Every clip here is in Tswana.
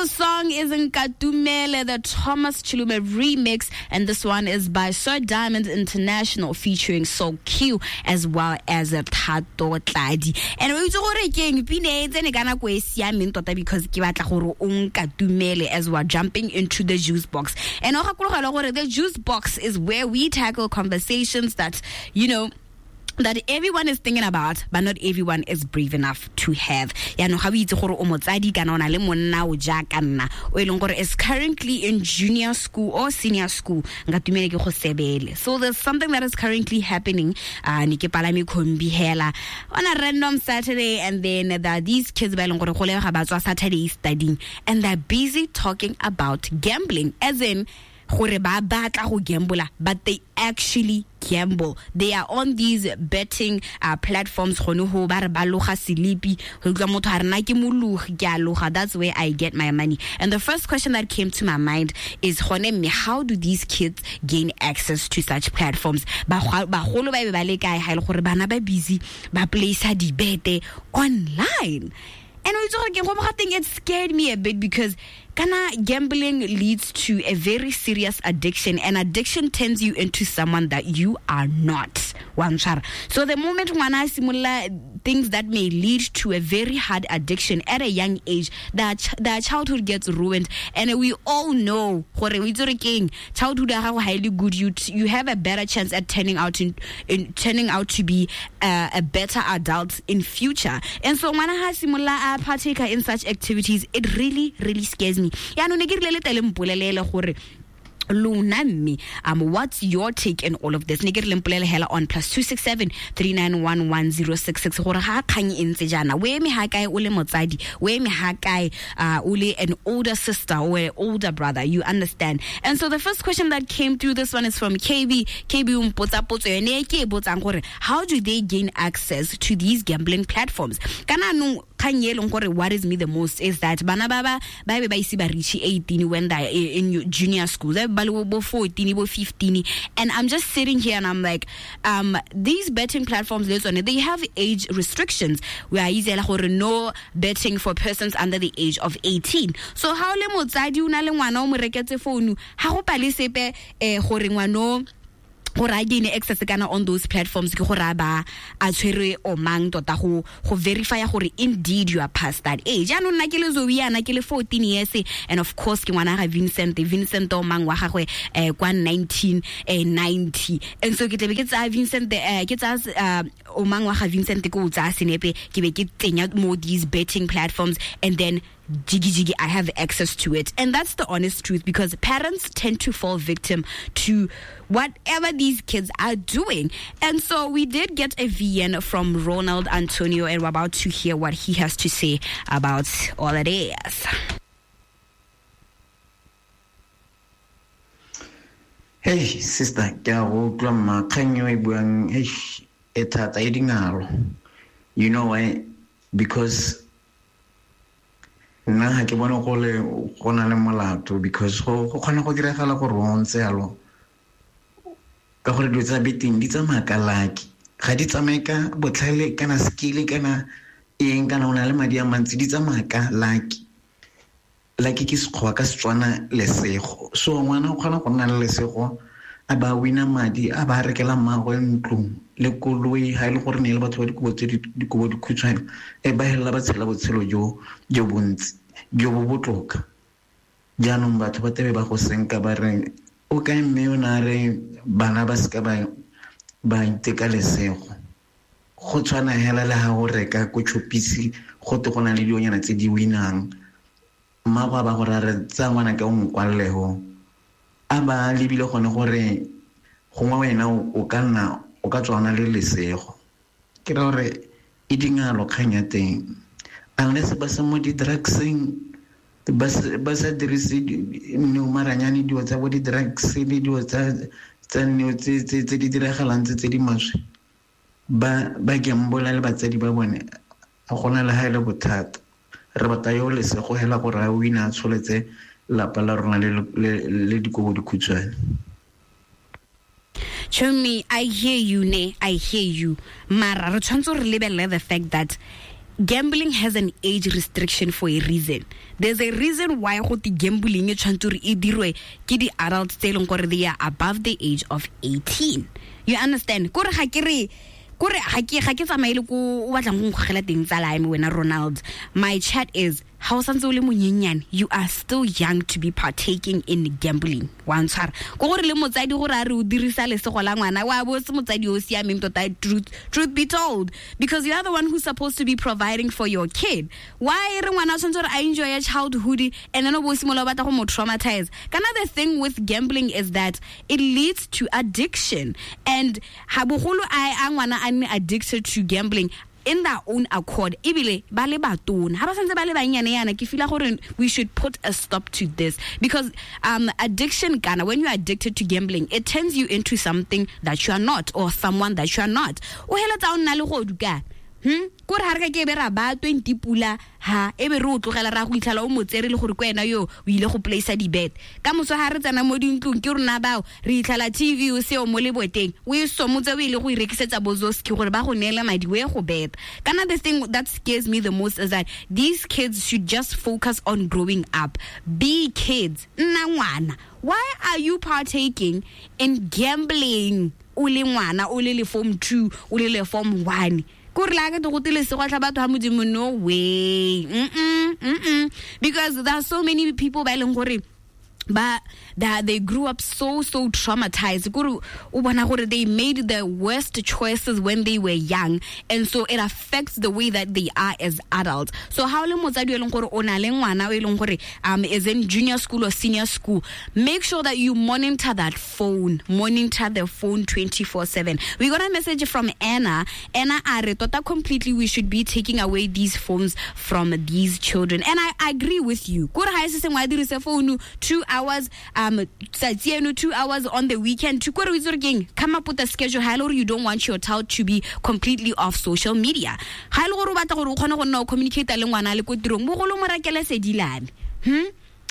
the song is Nkatumele, the Thomas Chilume remix, and this one is by Sir Diamond International featuring Soul Q as well as Thato Tladi. And we gore keng pine e tsene ka nako e siameng tota because ke batla gore o nkatumele as we're jumping into the juice box. And o gakologelwa gore the juice box is where we tackle conversations that, you know, that everyone is thinking about, but not everyone is brave enough to have. Yaanong ga o itse gore o motsadi kana o na le monna o jaaka nna o e leng gore is currently in junior school or senior school, nka tumele ke go sebele. So there's something that is currently happening. Ne ke palame khombi hela on a random Saturday, and then there are these kids ba e leng gore go lebega ba tswa Saturday studying, and they're busy talking about gambling, as in gore ba batla go gambola, but they actually gamble. They are on these betting platforms gone ho ba re ba loga selipi, go utlwa motho a re na ke mologi, ke a loga, that's where I get my money. And the first question that came to my mind is gone mme, how do these kids gain access to such platforms? Bagolo ba be ba le kae ha e le gore bana ba busy ba place dibete online? And o itse gore ke go mo gateng, it scared me a bit because kana gambling leads to a very serious addiction, and addiction turns you into someone that you are not. Wa ntshwara. So the moment ngwana a simolola things that may lead to a very hard addiction at a young age, their childhood gets ruined. And we all know gore o itse gore keng, childhood ya gago ha e le good, you have a better chance at turning out in, in turning out to be a better adult in future. And so ngwana ha simolola a partaker in such activities, it really, really scares me. Yaanong ne ke rile le tele mpolelele gore lona mme, what's your take in all of this? Ne ke re le mpolele hela on +267 391 1066 gore ga kgang e ntse jaana, o eme ha kae o le motsadi, o eme ha kae, o le an older sister or an older brother, you understand? And so the first question that came through, this one is from KB. KB o mpotsa potso yone e ke e botsang gore how do they gain access to these gambling platforms? Kana anong kgang e leng gore worries me the most is that bana ba ba ba be ba ise ba reach 18 when they're in junior school, they ba le bo 14, bo 15, and I'm just sitting here and I'm like, these betting platforms le tsone, they have age restrictions. We are itse gore no betting for persons under the age of 18. So ha o le motsadi o na le ngwana o mo reketse founu, ha go pale sepe gore ngwano gore a gain access kana on those platforms, ke gore a ba a tshwere o mang tota go verify gore indeed you are past that age. Jaanong nna ke le Zoe yana ke le 14 years, and of course ke ngwana ga Vincent, Vincent o mang wa gagwe kwa 1990, and so ke tle be ke tsaya Vincent, ke tsaya o mang wa ga Vincent, ke o tsaya senepe ke be ke tsenya mo these betting platforms, and then jiggy jiggy I have access to it. And that's the honest truth, because parents tend to fall victim to whatever these kids are doing. And so we did get a VN from Ronald Antonio, and we're about to hear what he has to say about all it is. Hey sister, ke a go utlwa mma, kgang eo e buang, hey, e thata, e dingalo. You know why? Because nna ga ke bone go le go na le molato, because go kgona go diragala gore o ntse yalo, ka gore dilo tsa betting di tsamaya ka lucky, ga di tsamaye ka botlhale kana skill kana eng kana o na le madi a mantsi, di tsamaya ka lucky. Lucky ke Sekgowa, ka Setswana lesego. So ngwana o kgona go nna le lesego, a ba wina madi, a ba rekela mmagwe ntlo le koloi, ha e le gore ne e le batho ba dikobo tse dikobo dikhutshwane, e ba helela ba tshela botshelo jo jo bontsi jo bo botoka. Jaanong batho ba tebe ba go senka ba re o kae mme o ne a re bana ba seka ba iteka lesego. Go tshwana hela le ha o reka ko Choppies, go te go na le dilonyana tse di winang, mmago a ba gore a re tsaya ngwana ka o mokwalelego, a ba lebile gone gore gongwe wena o ka nna o ka tswa o na le lesego. Ke ra gore e dingalo kgang ya teng, unless ba se mo di-drugseng, ba sa dirise neo maranyane, dilo tsa bo di-drugs le dilo tsa neo tse di diragalang tse di maswe, ba gambola le batsadi ba bone, ga gona le ha e le bothata. Re batla yo lesego hela gore a wina a tsholetse lapa la rona le dikobo dikhutshwane. Chomi, I hear you, ne? I hear you. Mara, re tshwanetse re lebelele the fact that Gambling has an age restriction for a reason. There's a reason why go te gambling e tshwanetse gore e dirwe ke di-adults tse e leng gore they are above the age of 18. You understand? Kore ga ke re kore ga ke tsamaele ko o batlang go nkgogela teng tsala ya me wena Ronald. My chat is, ha o santse o le monyenyane, you are still young to be partaking in gambling. Wa ntshwara ko gore le motsadi gore a re o dirisa lesego la ngwana wa bo se motsadi o siameng tota, truth be told, because you are the one who's supposed to be providing for your kid. Why re ngwana o tshwanetse gore a enjoy childhood and then o bo simolola o batla go mo traumatize? Kana the thing with gambling is that it leads to addiction, and ha bogolo a ngwana a nne addicted to gambling in their own accord, ebile ba le batona ha ba santse ba le banyane yana. Ke feel gore we should put a stop to this, because addiction kana, when you are addicted to gambling, it turns you into something that you are not, or someone that you are not. O heletsa o nna le godu ka kore ha re ka ke be ra ba 20 pula ha e be re o tlogela ra go itlhala o motsere le gore ke wena yo o ile go place di-bet ka moso. Ha re tsena mo dintlong ke rona bao re itlhala TV o seo mo leboteng, o e somotse o ile go irekisetsa bozoski gore ba go neele madi o ye go beta. Kana the thing that scares me the most is that these kids should just focus on growing up. Be kids. Nna ngwana, why are you partaking in gambling o le ngwana, o le le form 2, o le le form 1? Kore la ke go tile se gwa batho ha Modimo, no way. Because there are so many people ba leng gore ba that they grew up so traumatized. Kore o bona gore they made the worst choices when they were young, and so it affects the way that they are as adults. So how le motsadi e leng gore o na le ngwana o e leng gore is in junior school or senior school, make sure that you monitor that phone, monitor the phone 24/7. We got a message from Anna. Anna a re tota completely we should be taking away these phones from these children, and I agree with you. Kore ha e se sengwe a dirise phone 2 hours tsatsi eno, 2 hours on the weekend. To kore o itse gore keng, come up with a schedule. Ha e le gore you don't want your child to be completely off social media, ha e le gore o batla gore o kgone go nna o communicate le ngwana le ko tirong, bogolo mo rekele sedilame.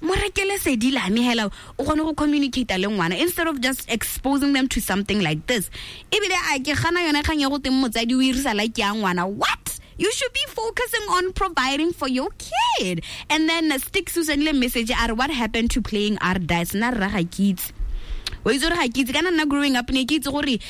Mo rekele sedilame hela o kgone go communicate le ngwana instead of just exposing them to something like this. Ebile a ke gana yone kgang ya go teng motsadi o irisa like ya ngwana. What? You should be focusing on providing for your kid. And then Stick Susan le message are, what happened to playing our dice? Na ra ga kitse. O itse gore ga ke itse kana nna growing up ne ke itse gore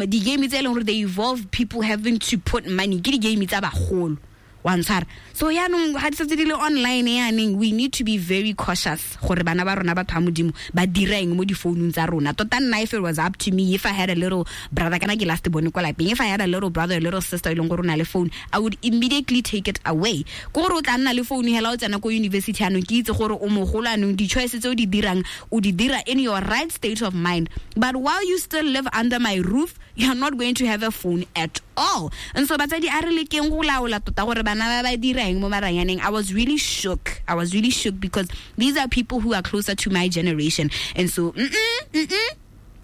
di-game tse e leng gore they evolve people having to put money ke di-game tsa bagolo. Wa ntshwara. So yaanong ga di setse di le online yaaneng, we need to be very cautious gore bana ba rona batho ba Modimo ba dira eng mo difounung tsa rona. Tota nna, if it was up to me, if I had a little brother, kana ke last bone kwa lapeng, if I had a little brother, a little sister e leng gore o na le phone, I would immediately take it away. Ke gore o tla nna le phone hela o tsena ko university anong, ke itse gore o mogolo anong, di-choice tse o di dirang o di dira in your right state of mind. But while you still live under my roof, you are not going to have a phone at all. And so batsadi a re lekeng go laola tota gore bana ba ba dira eng mo maranyaneng. I was really shook. I was really shook because these are people who are closer to my generation. And so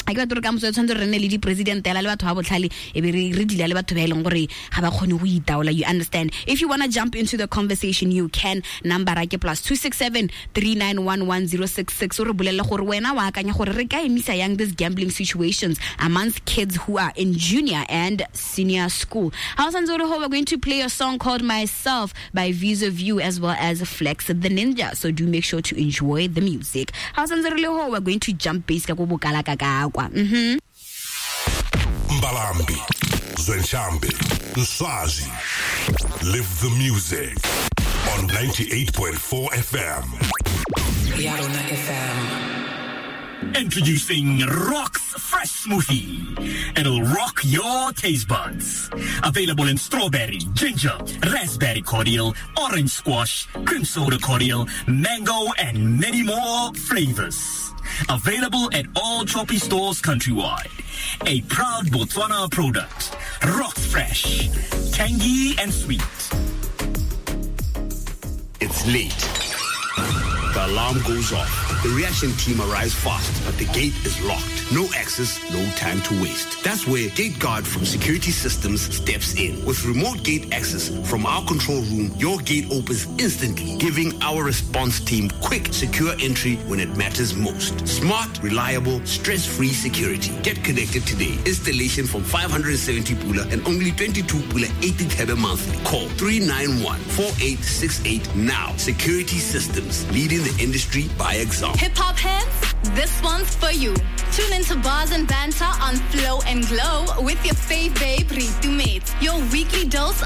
a ke batho re ka moso tshwanetse re nne le di-president ela le batho ba botlhale e be re dila le batho ba e leng gore ga ba kgone go itaola. You understand? If you want to jump into the conversation, you can. Number ke +267 3911 066. O re bolelle gore wena wa akanya gore re ka emisa yang this gambling situations amongst kids who are in junior and senior school. House and Zoro, we're going to play a song called Myself by Visa View as well as Flex the Ninja. So do make sure to enjoy the music. House and Zoro, we're going to jump base ka ko bokala ka ka. Mbalambi, Zwenshambi, Nswazi. Live the music on 98.4 FM. Yarona FM. Introducing Rock's Fresh Smoothie. It'll rock your taste buds. Available in strawberry, ginger, raspberry cordial, orange squash, cream soda cordial, mango, and many more flavors. Available at all Choppy stores countrywide. A proud Botswana product. Rocks Fresh. Tangy and sweet. It's late. The alarm goes off. The reaction team arrives fast, but the gate is locked. No access, no time to waste. That's where Gate Guard from Security Systems steps in. With remote gate access from our control room, your gate opens instantly, giving our response team quick, secure entry when it matters most. Smart, reliable, stress-free security. Get connected today. Installation from 570 Pula and only 22 Pula 80 Thebe monthly. Call 391-4868 now. Security Systems, leading the industry by example. Hip hop heads, this one's for you. Tune into Bars and Banter on Flow and Glow with your fave babe Ritu Mates. Your weekly dose